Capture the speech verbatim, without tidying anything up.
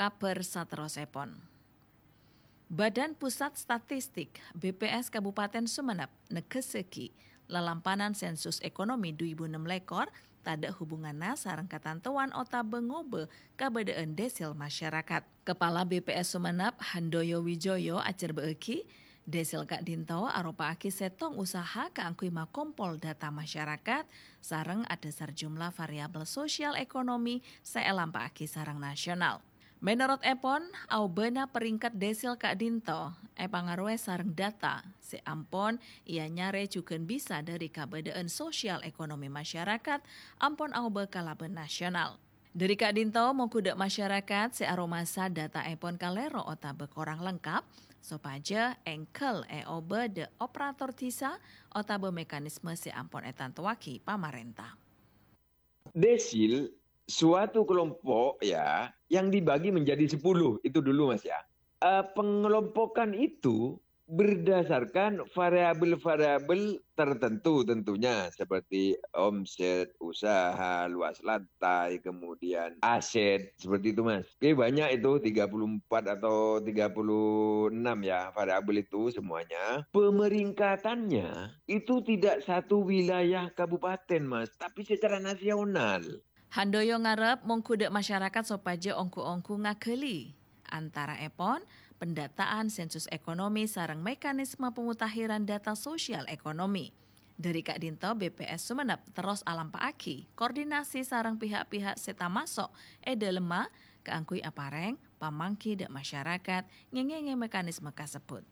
Kabhâr saterrossèpon. Badan Pusat Statistik, B P S, Kabupaten Sumenep negghessaghi lalampanan sensus ekonomi dhu èbu ennem lèkor tadhâ' hubunganna sareng katantowan otabâ ngobâ kabâdâ'ân desil masyarakat. Kepala B P S Sumenep, Handoyo Wijoyo, ajhârbâ'âghi, desil ka'dinto aropa'aghi sèttong usaha kaangghuy makompol data masyarakat sareng adhâsar jumlah variabel sosial ekonomi sè èlampa'aghi sareng nasional. Mènorot èpon, aobâna peringkat desil ka'dinto èpangarowè sareng data sè ampon èanyarè jhughân bisa dhâri kabâdâ'ân sosial ekonomi masyarakat ampon aobâ kalabân nasional. Dhâri ka'dinto, mongghu dâ' masyarakat sè aromasa data èpon kalèro otabâ korang lengkap, sopajâ èngghâl èobâ dâ' operator dhisa otabâ mekanisme sè ampon ètantowaghi pamarènta. Desil suatu kelompok ya yang dibagi menjadi sepuluh itu dulu Mas ya. Eh, pengelompokan itu berdasarkan variabel-variabel tertentu tentunya seperti omset, usaha, luas lantai, kemudian aset seperti itu Mas. Oke, banyak itu tiga puluh empat atau tiga puluh enam ya variabel itu semuanya. Pemeringkatannya itu tidak satu wilayah kabupaten Mas, tapi secara nasional. Handoyo ngarep mongghu dâ' masyarakat sopajâ ongghu-ongghu ngaghâli antaraèpon pendataan sensus ekonomi sareng mekanisme pemutahiran data sosial ekonomi. Dhâri ka'dinto B P S Sumenep terros alampa'aghi koordinasi sareng pihak-pihak sè tamaso' è dâlemma kaangghuy aparèng pamangghi dâ' masyarakat ngèngèngè mekanisme kasebbhut.